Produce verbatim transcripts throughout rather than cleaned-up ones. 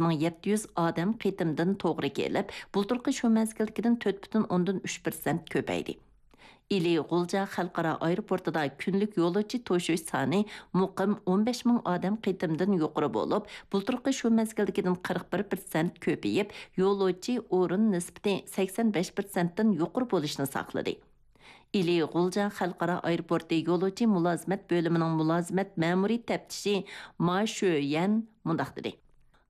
مىڭ يەتتە يۈز ئادەم قېتىمدىن توغرا كېلىپ، بۇلتۇرقى شۇ مەزگىلدىكىدىن تۆت پۈتۈن ئوندىن ئۈچ پىرسەنت كۆپەيدى. ئىلى غۇلجا خەلقئارا ئايروپورتىدا كۈنلۈك يولۇچى توشۇش سانى مۇقىم ئون بەش مىڭ ئادەم قېتىمدىن يۇقىرى بولۇپ، بۇلتۇرقى شۇ مەزگىلدىكىدىن قىرىق بىر پىرسەنت كۆپىيىپ، يولۇچى ئورۇن نىسبىتى سەكسەن بەش پىرسەنتتىن يۇقىرى بولۇشنى ساقلىدى. ئىلى غۇلجا خەلقئارا ئايروپورتى يولۇچى مۇلازىمەت بۆلۈمىنىڭ مۇلازىمەت مەمۇرىي تەپتىشى ما شۆيەن مۇنداق دېدى.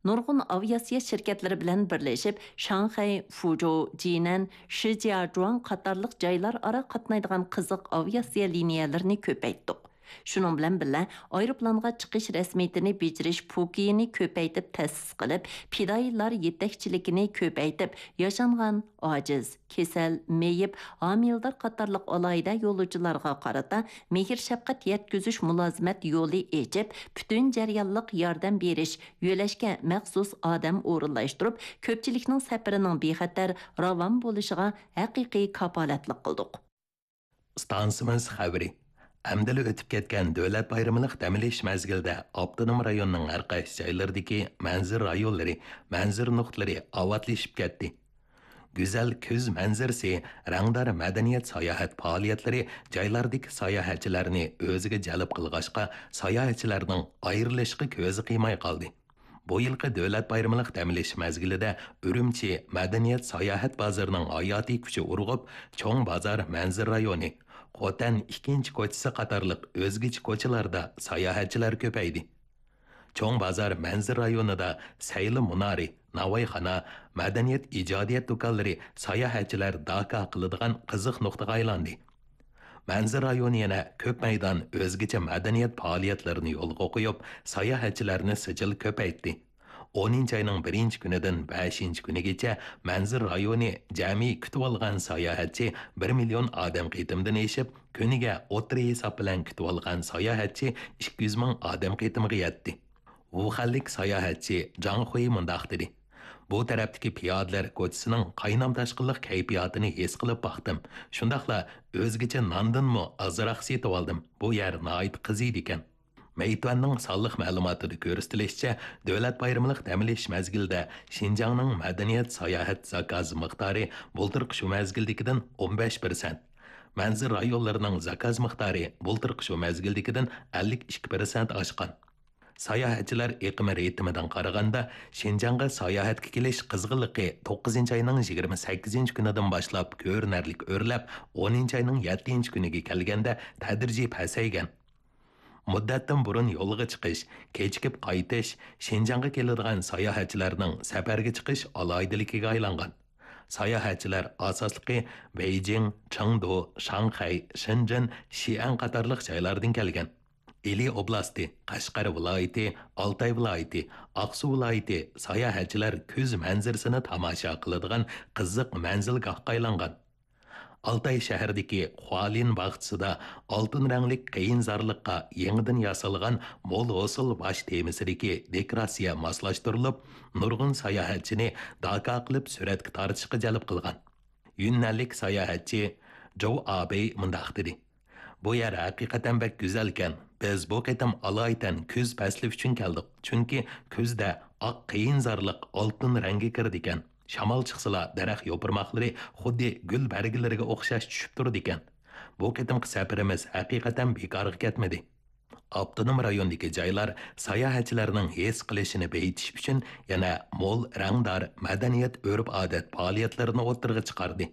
نۇرغۇن ئاۋىئاتسىيە شىركەتلىرى بىلەن بىرلىشىپ، شاڭخەي، فۇجو، جىنەن، شىجياجۇاڭ قاتارلىق جايلار ئارا قاتنايدىغان قىزىق ئاۋىئاتسىيە لىنىيەلىرىنى كۆپەيتتۇق. شۇنىڭ بىلەن بىللە، ئايروپىلانغا چىقىش رەسمىيىتىنى بېجىرىش پوكىيىنى كۆپەيتىپ تەسىس قىلىپ، پىدائىيلار يېتەكچىلىكىنى كۆپەيتىپ، ياشانغان، ئاجىز، كېسەل، مېيىپ، ھامىلىدار قاتارلىق ئالاھىدە يولۇچىلارغا قارىتا مېھىر-شەپقەت يەتكۈزۈش مۇلازىمەت يولى ئېچىپ، پۈتۈن جەريانلىق ياردەم بېرىش، يۆلەشكە مەخسۇس ئادەم ئورۇنلاشتۇرۇپ، كۆپچىلىكنىڭ سەپىرىنىڭ بىخەتەر، راۋان بولۇشىغا ھەقىقىي كاپالەتلىك قىلدۇق. ئىستانسىمىز خەۋىرى. ئەمدىلا ئۆتۈپ كەتكەن دۆلەت بايرىملىق دەم ئېلىش مەزگىلىدە ئاپتونوم رايوننىڭ ھەر قايسى جايلىرىدىكى مەنزىرە رايونلىرى، مەنزىرە نۇقتىلىرى ئاۋاتلىشىپ كەتتى. گۈزەل كۈز مەنزىرىسى، رەڭدار مەدەنىيەت ساياھەت پائالىيەتلىرى جايلاردىكى ساياھەتچىلەرنى ئۆزىگە جەلپ قىلغاچقا، ساياھەتچىلەرنىڭ ئايرىلىشقا كۆزى قىيماي قالدى. بۇ يىلقى دۆلەت بايرىملىق دەم ئېلىش مەزگىلىدە ئۈرۈمچى مەدەنىيەت ساياھەت بازىرىنىڭ ھاياتىي كۈچى ئۇرغۇپ، چوڭ بازار مەنزىرە رايونى، خوتەن ئىككىنچى كوچىسى قاتارلىق ئۆزگىچە كوچىلاردا ساياھەتچىلەر كۆپەيدى. چوڭ بازار مەنزىرە رايونىدا سەيلە مۇنارى، ناۋايخانا، مەدەنىيەت ئىجادىيەت دۇكانلىرى ساياھەتچىلەر داكا قىلىدىغان قىزىق نۇقتىغا ئايلاندى. مەنزىرە رايونى يەنە كۆپ مەيدان ئۆزگىچە مەدەنىيەت پائالىيەتلىرىنى يولغا قويۇپ، ساياھەتچىلەرنى سىجىل كۆپەيتتى. ئونىنچى ئاينىڭ بىرىنچى كۈنىدىن بەشىنچى كۈنىگىچە مەنزىرە رايونى جەمئىي كۈتۈۋالغان ساياھەتچى بىر مىليون ئادەم قېتىمدىن ئېشىپ، كۈنىگە ئوتتۇرا ھېساب بىلەن كۈتۈۋالغان ساياھەتچى ئىككى يۈز مىڭ ئادەم قېتىمىغا يەتتى. ۋۇخەنلىك ساياھەتچى جاڭ خۇي مۇنداق دېدى: بۇ تەرەپتىكى پىيادىلەر كوچىسىنىڭ قاينام-تاشقىنلىق كەيپىياتىنى ھېس قىلىپ باقتىم. شۇنداقلا ئۆزگىچە ناندىنمۇ ئازراق سېتىۋالدىم. بۇ يەر ناھايىتى قىزىيدىكەن. مەيتۈەننىڭ سانلىق مەلۇماتىدا كۆرسىتىلىشىچە، دۆلەت بايرىملىق دەم ئېلىش مەزگىلىدە شىنجاڭنىڭ مەدەنىيەت ساياھەت زاكاز مىقدارى بۇلتۇرقى شۇ مەزگىلدىكىدىن ئون بەش پىرسەنت، مەنزىرە رايونلىرىنىڭ زاكاز مىقدارى بۇلتۇرقى شۇ مەزگىلدىكىدىن ئەللىك ئىككى پىرسەنت ئاشقان. ساياھەتچىلەر ئېقىمى رىتىمىدىن قارىغاندا، شىنجاڭغا ساياھەتكە كېلىش قىزغىنلىقى توققۇزىنچى ئاينىڭ يىگىرمە سەككىزىنچى كۈنىدىن باشلاپ كۆرۈنەرلىك ئۆرلەپ، ئونىنچى ئاينىڭ يەتتىنچى كۈنىگە كەلگەندە تەدرىجىي پەسەيگەن. مۇددەتتىن بۇرۇن يولغا چىقىش، كېچىكىپ قايتىش شىنجاڭغا كېلىدىغان ساياھەتچىلەرنىڭ سەپەرگە چىقىش ئالاھىدىلىكىگە ئايلانغان. ساياھەتچىلەر ئاساسلىقى بېيجىڭ، چېڭدۇ، شاڭخەي، شېنجېن، شىئەن قاتارلىق جايلاردىن كەلگەن. ئىلى ئوبلاستى، قەشقەر ۋىلايىتى، ئالتاي ۋىلايىتى، ئاقسۇ ۋىلايىتى ساياھەتچىلەر كۈز مەنزىرىسىنى تاماشا قىلىدىغان قىزىق مەنزىلگاھقا ئايلانغان. ئالتاي شەھىرىدىكى خۇالىن باغچىسىدا ئالتۇن رەڭلىك قېيىنزارلىققا يېڭىدىن ياسالغان مول ھوسۇل باش تېمىسىدىكى دېكوراتسىيە ماسلاشتۇرۇلۇپ، نۇرغۇن ساياھەتچىنى داكا قىلىپ سۈرەتكە تارتىشقا جەلپ قىلغان. يۈننەنلىك ساياھەتچى جوۋ ئابېي مۇنداق دېدى: بۇ يەر ھەقىقەتەن بەك گۈزەلكەن. بىز بۇ قېتىم ئالايىتەن كۈز پەسلى ئۈچۈن كەلدۇق، چۈنكى كۈزدە ئاق قېيىنزارلىق ئالتۇن رەڭگە كىرىدىكەن. شامال چىقسىلا، دەرەخ يوپۇرماقلىرى خۇددى گۈل بەرگىلىرىگە ئوخشاش چۈشۈپ تۇرىدىكەن. بۇ قېتىمقى سەپىرىمىز ھەقىقەتەن بىكارغا كەتمىدى. ئاپتونوم رايوندىكى جايلار ساياھەتچىلەرنىڭ ھېس قىلىشىنى بېيىتىش ئۈچۈن يەنە مول رەڭدار مەدەنىيەت، ئۆرپ-ئادەت پائالىيەتلىرىنى ئوتتۇرىغا چىقاردى.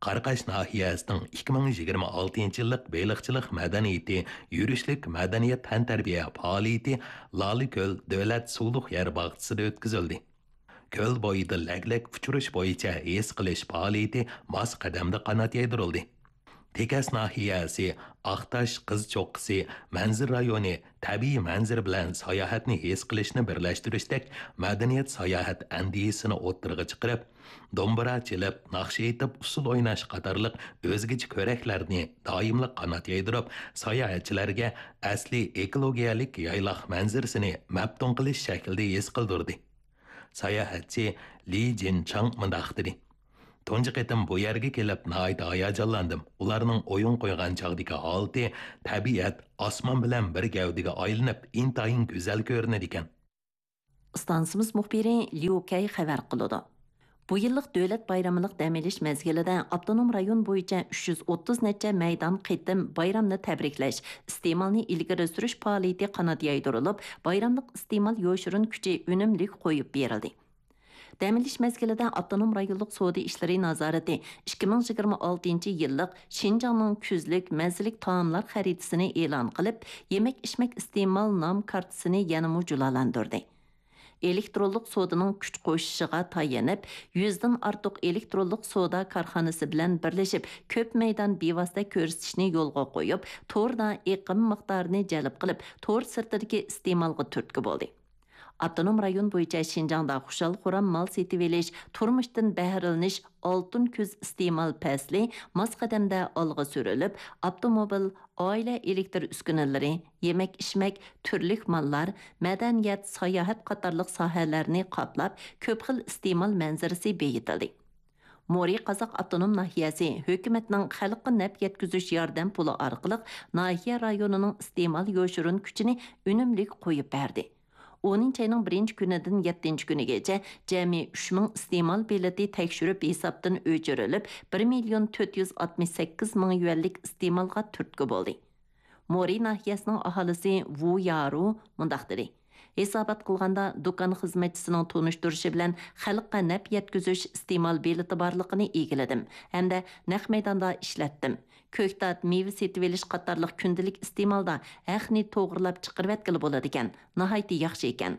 قاراقاش ناھىيەسىنىڭ ئىككى مىڭ يىگىرمە ئالتىنچى يىللىق بېلىقچىلىق مەدەنىيىتى يۈرۈشلۈك مەدەنىيەت تەنتەربىيە پائالىيىتى لالىكۆل دۆلەت سۇلۇق يەر باغچىسىدا ئۆتكۈزۈلدى. كۆل بويىدا لەگلەك ئۇچۇرۇش بويىچە ھېس قىلىش پائالىيىتى ماس قەدەمدە قانات يايدۇرۇلدى. تېكەس ناھىيەسى ئاقتاش قىز چوققىسى مەنزىرە رايونى تەبىئىي مەنزىرە بىلەن ساياھەتنى ھېس قىلىشنى بىرلەشتۈرۈشتەك مەدەنىيەت ساياھەت ئەندىزىسىنى ئوتتۇرىغا چىقىرىپ، دومبۇرا چېلىپ، ناخشا ئېيتىپ، ئۇسسۇل ئويناش قاتارلىق ئۆزگىچە كۆرەكلەرنى دائىملىق قانات يايدۇرۇپ، ساياھەتچىلەرگە ئەسلىي ئېكولوگىيەلىك يايلاق مەنزىرىسىنى مەپتۇن قىلىش شەكلىدە ھېس قىلدۇردى. ساياھەتچى لى جىنچاڭ مۇنداق دېدى: تۇنجى قېتىم بۇ يەرگە كېلىپ ناھايىتى ھاياجانلاندىم. ئۇلارنىڭ ئويۇن قويغان چاغدىكى ھالىتى، تەبىئەت ئاسمان بىلەن بىر گەۋدىگە ئايلىنىپ، ئىنتايىن گۈزەل كۆرۈنىدىكەن. ئىستانسىمىز مۇخبىرى ليۇ كەي خەۋەر قىلىدۇ. بۇ يىللىق دۆلەت بايرىملىق دەم ئېلىش مەزگىلىدە ئاپتونوم رايون بويىچە ئۈچ يۈز ئوتتۇز نەچچە مەيدان قېتىم بايرامنى تەبرىكلەش، ئىستېمالنى ئىلگىرى سۈرۈش پائالىيىتى قانات يايدۇرۇلۇپ، بايراملىق ئىستېمال يوشۇرۇن كۈچى ئۈنۈملۈك قويۇپ بېرىلدى. دەم ئېلىش مەزگىلىدە ئاپتونوم رايونلۇق سودا ئىشلىرى نازارىتى ئىككى مىڭ يىگىرمە ئالتىنچى يىللىق شىنجاڭنىڭ كۈزلۈك مەززىلىك تائاملار خەرىتىسىنى ئېلان قىلىپ، يېمەك-ئىچمەك ئىستېمال نام كارتىسىنى يەنىمۇ جۇلالاندۇردى. ئېلېكترونلۇق سودىنىڭ كۈچ قوشۇشىغا تايىنىپ، يۈزدىن ئارتۇق ئېلېكترونلۇق سودا كارخانىسى بىلەن بىرلىشىپ، كۆپ مەيدان بىۋاسىتە كۆرسىتىشنى يولغا قويۇپ، توردا ئېقىم مىقدارىنى جەلپ قىلىپ، تور سىرتىدىكى ئىستېمالغا تۈرتكە بولدى. ئاپتونوم رايون بويىچە شىنجاڭدا خۇشال-خۇرام مال سېتىۋېلىش، تۇرمۇشتىن بەھرىلىنىش ئالتۇن كۈز ئىستېمال پەسلى ماس قەدەمدە ئالغا سۈرۈلۈپ، ئاپتوموبىل، ئائىلە ئېلېكتر ئۈسكۈنىلىرى، يېمەك-ئىچمەك، تۈرلۈك ماللار، مەدەنىيەت، ساياھەت قاتارلىق ساھەلەرنى قاپلاپ، كۆپ خىل ئىستېمال مەنزىرىسى بېيىتىلدى. مورى قازاق ئاپتونوم ناھىيەسى ھۆكۈمەتنىڭ خەلققە نەپ يەتكۈزۈش ياردەم پۇلى ئارقىلىق ناھىيە رايونىنىڭ ئىستېمال يوشۇرۇن كۈچىنى ئۈنۈملۈك قويۇپ بەردى. ئونىنچى ئاينىڭ بىرىنچى كۈنىدىن يەتتىنچى كۈنىگىچە جەمئىي ئۈچ مىڭ ئىستېمال بېلىتى تەكشۈرۈپ ھېسابتىن ئۆچۈرۈلۈپ، بىر مىليون تۆت يۈز ئاتمىش سەككىز مىڭ يۈەنلىك ئىستېمالغا تۈرتكە بولدى. مورى ناھىيەسىنىڭ ئاھالىسى ۋۇ يارۇ مۇنداق دېدى: ھېسابات قىلغاندا، دۇكان خىزمەتچىسىنىڭ تونۇشتۇرۇشى بىلەن خەلققە نەپ يەتكۈزۈش ئىستېمال بېلىتى بارلىقىنى ئىگىلىدىم ھەمدە نەق مەيداندا ئىشلەتتىم. كۆكتات، مېۋە سېتىۋېلىش قاتارلىق كۈندىلىك ئىستېمالدا ھەقنى توغرىلاپ چىقىرىۋەتكىلى بولىدىكەن، ناھايىتى ياخشى ئىكەن.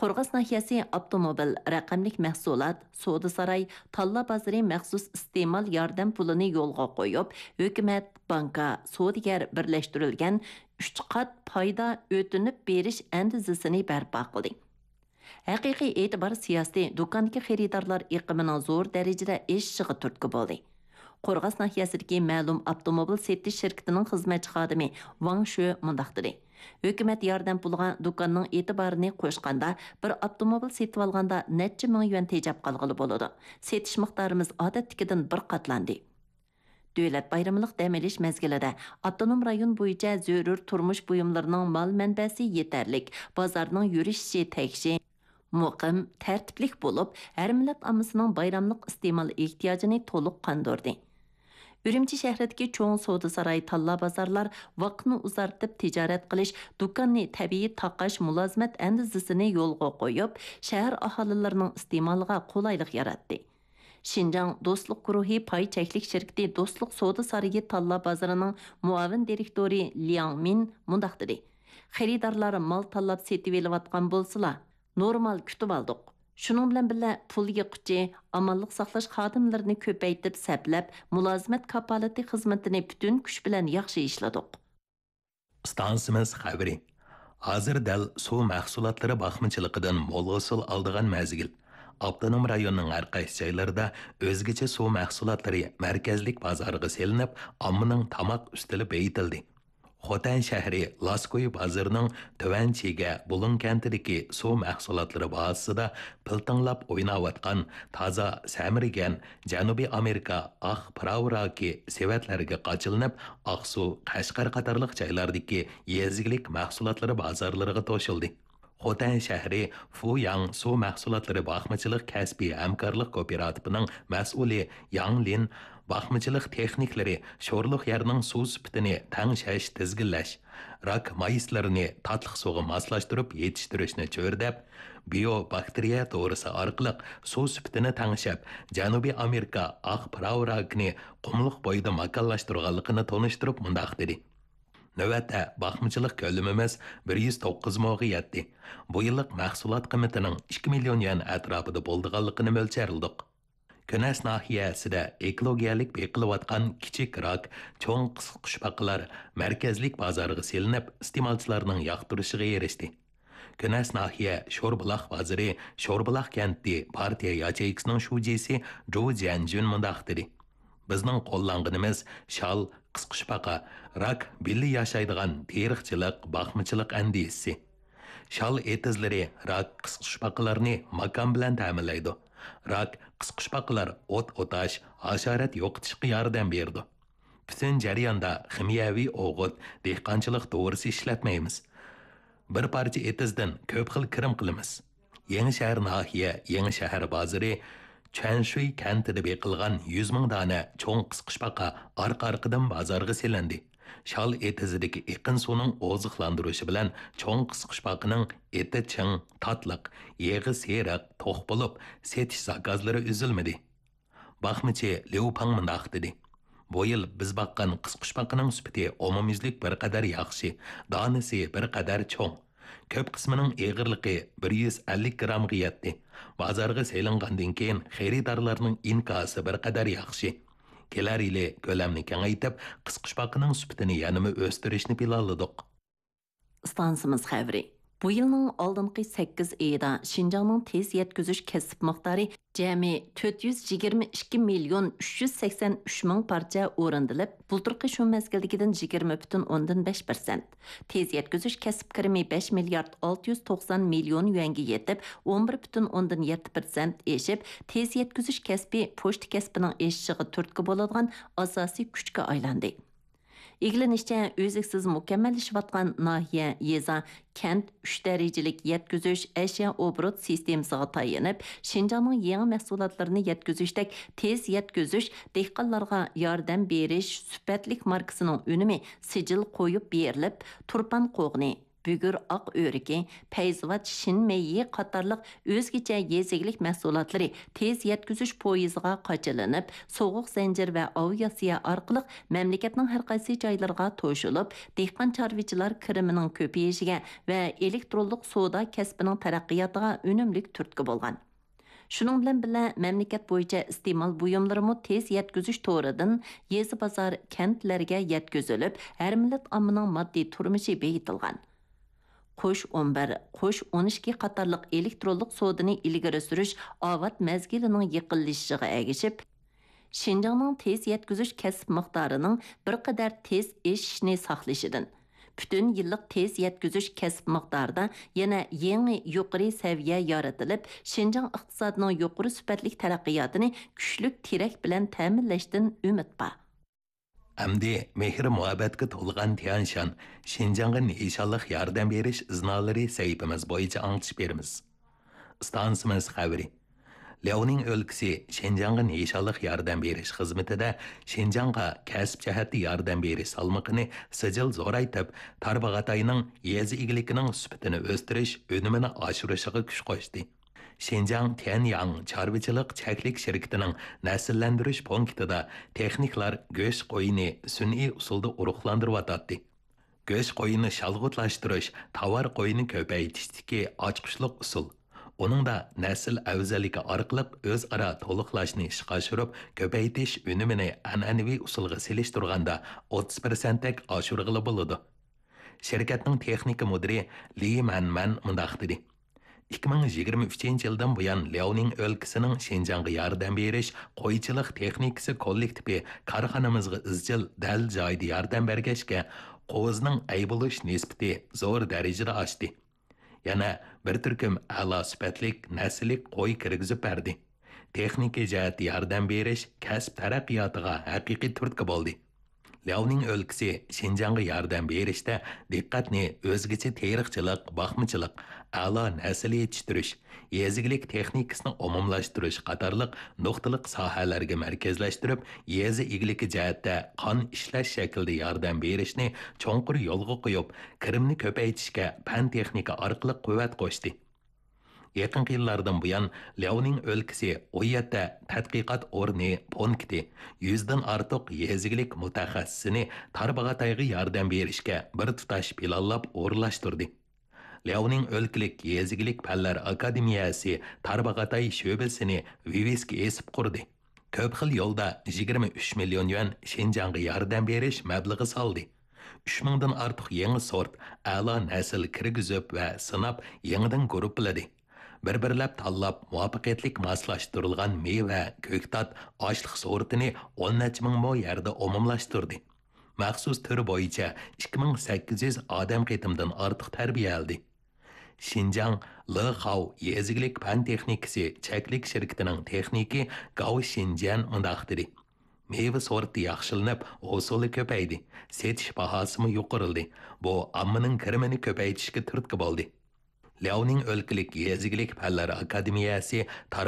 قورغاس ناھىيەسى ئاپتوموبىل، رەقەملىك مەھسۇلات، سودا ساراي، تاللا بازىرى مەخسۇس ئىستېمال ياردەم پۇلىنى يولغا قويۇپ، ھۆكۈمەت، بانكا، سودىگەر بىرلەشتۈرۈلگەن ئۈچ قات پايدا ئۆتۈنۈپ بېرىش ئەندىزىسىنى بەرپا قىلدى. ھەقىقىي ئېتىبار سىياسىتى دۇكاندىكى خېرىدارلار ئېقىمىنىڭ زور دەرىجىدە ئېشىشىغا تۈرتكە بولدى. قورغاس ناھىيەسىدىكى مەلۇم ئاپتوموبىل سېتىش شىركىتىنىڭ خىزمەتچى خادىمى ۋاڭ شۆ مۇنداق دېدى: ھۆكۈمەت ياردەم پۇلىغا دۇكاننىڭ ئېتىبارىنى قوشقاندا، بىر ئاپتوموبىل سېتىۋالغاندا نەچچە مىڭ يۈەن تېجەپ قالغىلى بولىدۇ. سېتىش مىقدارىمىز ئادەتتىكىدىن بىر قاتلاندى. دۆلەت بايرىملىق دەم ئېلىش مەزگىلىدە ئاپتونوم رايون بويىچە زۆرۈر تۇرمۇش بۇيۇملىرىنىڭ مال مەنبەسى يېتەرلىك، بازارنىڭ يۈرۈشۈشى تەكشى، مۇقىم، تەرتىپلىك بولۇپ، ھەر مىللەت ئاممىسىنىڭ بايراملىق ئىستېمال ئېھتىياجىنى تولۇق قاندۇردى. ئۈرۈمچى شەھىرىدىكى چوڭ سودا ساراي، تاللا بازارلار ۋاقىتنى ئۇزارتىپ تىجارەت قىلىش، دۇكاننى تەبىئىي تاقاش مۇلازىمەت ئەندىزىسىنى يولغا قويۇپ، شەھەر ئاھالىلىرىنىڭ ئىستېمالىغا قولايلىق ياراتتى. شىنجاڭ دوستلۇق گۇرۇھى پاي چەكلىك شىركىتى دوستلۇق سودا سارىيى تاللا بازىرىنىڭ مۇئاۋىن دىرېكتورى لياڭ مىن مۇنداق دېدى: خېرىدارلار مال تاللاپ سېتىۋېلىۋاتقان بولسىلا، نورمال كۈتۈۋالدۇق. شۇنىڭ بىلەن بىللە، پۇل يىغقۇچى، ئامانلىق ساقلاش خادىملىرىنى كۆپەيتىپ سەپلەپ، مۇلازىمەت كاپالىتى خىزمىتىنى پۈتۈن كۈچ بىلەن ياخشى ئىشلىدۇق. ئىستانسىمىز خەۋىرى. ھازىر دەل سۇ مەھسۇلاتلىرى باقمىچىلىقىدىن مول ھوسۇل ئالىدىغان مەزگىل. ئاپتونوم رايوننىڭ ھەر قايسى جايلىرىدا ئۆزگىچە سۇ مەھسۇلاتلىرى مەركەزلىك بازارغا سېلىنىپ، ئاممىنىڭ تاماق ئۈستىلى بېيىتىلدى. خوتەن شەھىرى لاسكوي بازىرىنىڭ تۆۋەن چىگە بۇلۇڭ كەنتىدىكى سۇ مەھسۇلاتلىرى بازىسىدا پىلتىڭلاپ ئويناۋاتقان تازا سەمرىگەن جەنۇبىي ئامېرىكا ئاق پىراۋ راكى سېۋەتلەرگە قاچىلىنىپ، ئاقسۇ، قەشقەر قاتارلىق جايلاردىكى يېزا ئىگىلىك مەھسۇلاتلىرى بازارلىرىغا توشۇلدى. خوتەن شەھىرى فۇياڭ سۇ مەھسۇلاتلىرى باقمىچىلىق كەسپىي ھەمكارلىق كوپىراتىپىنىڭ مەسئۇلى ياڭ لىن باقمىچىلىق تېخنىكلىرى شورلۇق يەرنىڭ سۇ سۈپىتىنى تەڭشەش، تىزگىنلەش، راك مايسىلىرىنى تاتلىق سۇغا ماسلاشتۇرۇپ يېتىشتۈرۈشنى چۆرىدەپ، بىيو باكتېرىيە دورىسى ئارقىلىق سۇ سۈپىتىنى تەڭشەپ، جەنۇبىي ئامېرىكا ئاق پىراۋ راكىنى قۇملۇق بويىدا ماكانلاشتۇرغانلىقىنى تونۇشتۇرۇپ مۇنداق دېدى: نۆۋەتتە باقمىچىلىق كۆلىمىمىز بىر يۈز توققۇز موغا يەتتى. بۇ يىللىق مەھسۇلات قىممىتىنىڭ ئىككى مىليون يۈەن ئەتراپىدا بولىدىغانلىقىنى مۆلچەرلىدۇق. كۈنەس ناھىيەسىدە ئېكولوگىيەلىك بېقىلىۋاتقان كىچىك راك، چوڭ قىسقۇچپاقىلار مەركەزلىك بازارغا سېلىنىپ، ئىستېمالچىلارنىڭ ياقتۇرۇشىغا ئېرىشتى. كۈنەس ناھىيە شوربۇلاق بازىرى شوربۇلاق كەنتى پارتىيە ياچېيكىسىنىڭ شۇجىسى جۇ جيەنجۈن مۇنداق دېدى: بىزنىڭ قوللانغىنىمىز شال، قىسقۇچپاقا، راك بىللە ياشايدىغان تېرىقچىلىق، باقمىچىلىق ئەندىزىسى. شال ئېتىزلىرى راك، قىسقۇچپاقىلارنى ماكان بىلەن تەمىنلەيدۇ. راك، قىسقۇچپاقىلار ئوت ئوتاش، ھاشارات يوقىتىشقا ياردەم بېرىدۇ. پۈتۈن جەرياندا خىمىيەۋى ئوغۇت، دېھقانچىلىق دورىسى ئىشلەتمەيمىز. بىر پارچە ئېتىزدىن كۆپ خىل كىرىم قىلىمىز. يېڭىشەھەر ناھىيە يېڭىشەھەر بازىرى چۈەنشۈي كەنتىدە بېقىلغان يۈز مىڭ دانە چوڭ قىسقۇچپاقا ئارقا-ئارقىدىن بازارغا سېلىندى. شال ئېتىزىدىكى ئېقىن سۇنىڭ ئوزۇقلاندۇرۇشى بىلەن چوڭ قىسقۇچپاقىنىڭ ئېتى چىڭ، تاتلىق، يېغى سېرىق، توق بولۇپ، سېتىش زاكازلىرى ئۈزۈلمىدى. باقمىچى ليۇ پاڭ مۇنداق دېدى: «بۇ يىل بىز باققان قىسقۇچپاقىنىڭ سۈپىتى ئومۇميۈزلۈك بىر قەدەر ياخشى، دانىسى بىر قەدەر چوڭ. كۆپ قىسمىنىڭ ئېغىرلىقى بىر يۈز ئەللىك گىرامغا يەتتى. بازارغا سېلىنغاندىن كېيىن خېرىدارلارنىڭ ئىنكاسى بىر قەدەر ياخشى. كېلەر يىلى كۆلەمنى كېڭەيتىپ، قىسقۇچپاقىنىڭ سۈپىتىنى يەنىمۇ ئۆستۈرۈشنى پىلانلىدۇق.» ئىستانسىمىز خەۋىرى. بۇ يىلنىڭ ئالدىنقى سەككىز ئېيىدا شىنجاڭنىڭ تېز يەتكۈزۈش كەسىپ مىقدارى جەمئىي تۆت يۈز يىگىرمە ئىككى مىليون ئۈچ يۈز سەكسەن ئۈچ مىڭ پارچە ئورۇندىلىپ، بۇلتۇرقى شۇ مەزگىلدىكىدىن يىگىرمە پۈتۈن ئوندىن بەش پىرسەنت. تېز يەتكۈزۈش كەسىپ كىرىمى بەش مىليارد ئالتە يۈز توقسان مىليون يۈەنگە يېتىپ، ئون بىر پۈتۈن ئوندىن يەتتە پىرسەنت ئېشىپ، تېز يەتكۈزۈش كەسپى پوچتا كەسپىنىڭ ئېشىشىغا تۈرتكە بولىدىغان ئاساسىي كۈچكە ئايلاندى. ئىگىلىنىشىچە، ئۈزلۈكسىز مۇكەممەللىشىۋاتقان ناھىيە، يېزا، كەنت ئۈچ دەرىجىلىك يەتكۈزۈش ئەشيا ئوبوروت سىستېمىسىغا تايىنىپ، شىنجاڭنىڭ يېڭى مەھسۇلاتلىرىنى يەتكۈزۈشتەك تېز يەتكۈزۈش، دېھقانلارغا ياردەم بېرىش سۈپەتلىك ماركىسىنىڭ ئۈنۈمى سىجىل قويۇپ بېرىلىپ، تۇرپان قوغۇنى، بۈگۈر ئاق ئۆرۈكى، پەيزىۋات شىن مېيى قاتارلىق ئۆزگىچە يېزا ئىگىلىك مەھسۇلاتلىرى تېز يەتكۈزۈش پويىزىغا قاچىلىنىپ، سوغۇق زەنجىر ۋە ئاۋىئاتسىيە ئارقىلىق مەملىكەتنىڭ ھەر قايسى جايلىرىغا توشۇلۇپ، دېھقان چارۋىچىلار كىرىمىنىڭ كۆپىيىشىگە ۋە ئېلېكترونلۇق سودا كەسپىنىڭ تەرەققىياتىغا ئۈنۈملۈك تۈرتكە بولغان. شۇنىڭ بىلەن بىللە، مەملىكەت بويىچە ئىستېمال بۇيۇملىرىمۇ تېز يەتكۈزۈش تورىدىن يېزا، بازار، كەنتلەرگە يەتكۈزۈلۈپ، ھەر مىللەت ئاممىنىڭ ماددىي تۇرمۇشى بېيىتىلغان. قوش ئون بىر، قوش ئون ئىككى قاتارلىق ئېلېكترونلۇق سودىنى ئىلگىرى سۈرۈش ئاۋات مەزگىلىنىڭ يېقىنلىشىشىغا ئەگىشىپ، شىنجاڭنىڭ تېز يەتكۈزۈش كەسىپ مىقدارىنىڭ بىر قەدەر تېز ئېشىشىنى ساقلىشىدىن، پۈتۈن يىللىق تېز يەتكۈزۈش كەسىپ مىقدارىدا يەنە يېڭى يۇقىرى سەۋىيە يارىتىلىپ، شىنجاڭ ئىقتىسادىنىڭ يۇقىرى سۈپەتلىك تەرەققىياتىنى كۈچلۈك تىرەك بىلەن تەمىنلەشتىن ئۈمىد بار. ئەمدى مېھىر-مۇھەببەتكە تولغان تيەنشان، شىنجاڭغا نىشانلىق ياردەم بېرىش ئىزنالىرى سەھىپىمىز بويىچە ئاڭلىتىش بېرىمىز. ئىستانسىمىز خەۋىرى. لياۋنىڭ ئۆلكىسى شىنجاڭغا نىشانلىق ياردەم بېرىش خىزمىتىدە شىنجاڭغا كەسىپ جەھەتتە ياردەم بېرىش سالمىقىنى سىجىل زورايتىپ، تارباغاتاينىڭ يېزا ئىگىلىكىنىڭ سۈپىتىنى ئۆستۈرۈش، ئۈنۈمىنى ئاشۇرۇشىغا كۈچ قوشتى. شىنجاڭ تيەنياڭ چارۋىچىلىق چەكلىك شىركىتىنىڭ نەسىللەندۈرۈش پونكىتىدا تېخنىكلار گۆش قويىنى سۈنئىي ئۇسۇلدا ئۇرۇقلاندۇرۇۋاتاتتى. گۆش قويىنى شالغۇتلاشتۇرۇش تاۋار قويىنى كۆپەيتىشتىكى ئاچقۇچلۇق ئۇسۇل. ئۇنىڭدا نەسىل ئەۋزەللىكى ئارقىلىق ئۆزئارا تولۇقلاشنى ئىشقا ئاشۇرۇپ، كۆپەيتىش ئۈنۈمىنى ئەنئەنىۋى ئۇسۇلغا سېلىشتۇرغاندا ئوتتۇز پىرسەنتتەك ئاشۇرغىلى بولىدۇ. شىركەتنىڭ تېخنىكا مۇدىرى لى مەنمەن مۇنداق دېدى: «ئىككى مىڭ يىگىرمە ئۈچىنچى يىلدىن بۇيان، لياۋنىڭ ئۆلكىسىنىڭ شىنجاڭغا ياردەم بېرىش قويچىلىق تېخنىكىسى كوللېكتىپى كارخانىمىزغا ئىزچىل دەل جايىدا ياردەم بەرگەچكە، قوزىنىڭ ئەي بولۇش نىسبىتى زور دەرىجىدە ئاشتى. يەنە بىر تۈركۈم ئەلا سۈپەتلىك نەسىللىك قوي كىرگۈزۈپ بەردى.» تېخنىكا جەھەتتە ياردەم بېرىش كەسىپ تەرەققىياتىغا ھەقىقىي تۈرتكە بولدى. لياۋنىڭ ئۆلكىسى شىنجاڭغا ياردەم بېرىشتە دىققەتنى ئۆزگىچە تېرىقچىلىق، باقمىچىلىق، ئەلا نەسىل يېتىشتۈرۈش، يېزا ئىگىلىك تېخنىكىسىنى ئومۇملاشتۇرۇش قاتارلىق نۇقتىلىق ساھەلەرگە مەركەزلەشتۈرۈپ، يېزا ئىگىلىكى جەھەتتە قان ئىشلەش شەكلىدە ياردەم بېرىشنى چوڭقۇر يولغا قويۇپ، كىرىمنى كۆپەيتىشكە پەن-تېخنىكا ئارقىلىق قۇۋۋەت قوشتى. يېقىنقى يىللاردىن بۇيان، لياۋنىڭ ئۆلكىسى ئون يەتتە تەتقىقات ئورنى، پونكىتى، يۈزدىن ئارتۇق يېزا ئىگىلىك مۇتەخەسسىسىنى تارباغاتايغا ياردەم بېرىشكە بىر تۇتاش پىلانلاپ ئورۇنلاشتۇردى. لياۋنىڭ ئۆلكىلىك يېزا ئىگىلىك پەنلەر ئاكادېمىيەسى تارباغاتاي شۆبىسىنى ۋىۋىسكا ئېسىپ قۇردى. كۆپ خىل يولدا يىگىرمە ئۈچ مىليون يۈەن شىنجاڭغا ياردەم بېرىش مەبلىغى سالدى. ئۈچ مىڭدىن ئارتۇق يېڭى سورت، ئەلا نەسىل كىرگۈزۈپ ۋە سىناپ يېڭىدىن گۇرۇپپىلىدى. بىر-بىرلەپ تاللاپ مۇۋەپپەقىيەتلىك ماسلاشتۇرۇلغان مېۋە، كۆكتات، ئاشلىق سورتىنى ئون نەچچە مىڭ مو يەردە ئومۇملاشتۇردى. مەخسۇس تۈر بويىچە ئىككى مىڭ سەككىز يۈز ئادەم قېتىمدىن ئارتۇق تەربىيەلىدى. شىنجاڭ لېخاۋ يېزا ئىگىلىك پەن تېخنىكىسى چەكلىك شىركىتىنىڭ تېخنىكى گاۋ شىنجيەن مۇنداق دېدى: «مېۋە سورتى ياخشىلىنىپ، ھوسۇلى كۆپەيدى، سېتىش باھاسىمۇ يۇقىرىلدى. بۇ ئاممىنىڭ كىرىمىنى كۆپەيتىشكە تۈرتكە بولدى.» لياۋنىڭ ئۆلكىلىك يېزا ئىگىلىك پەنلەر ئاكادېمىيەسى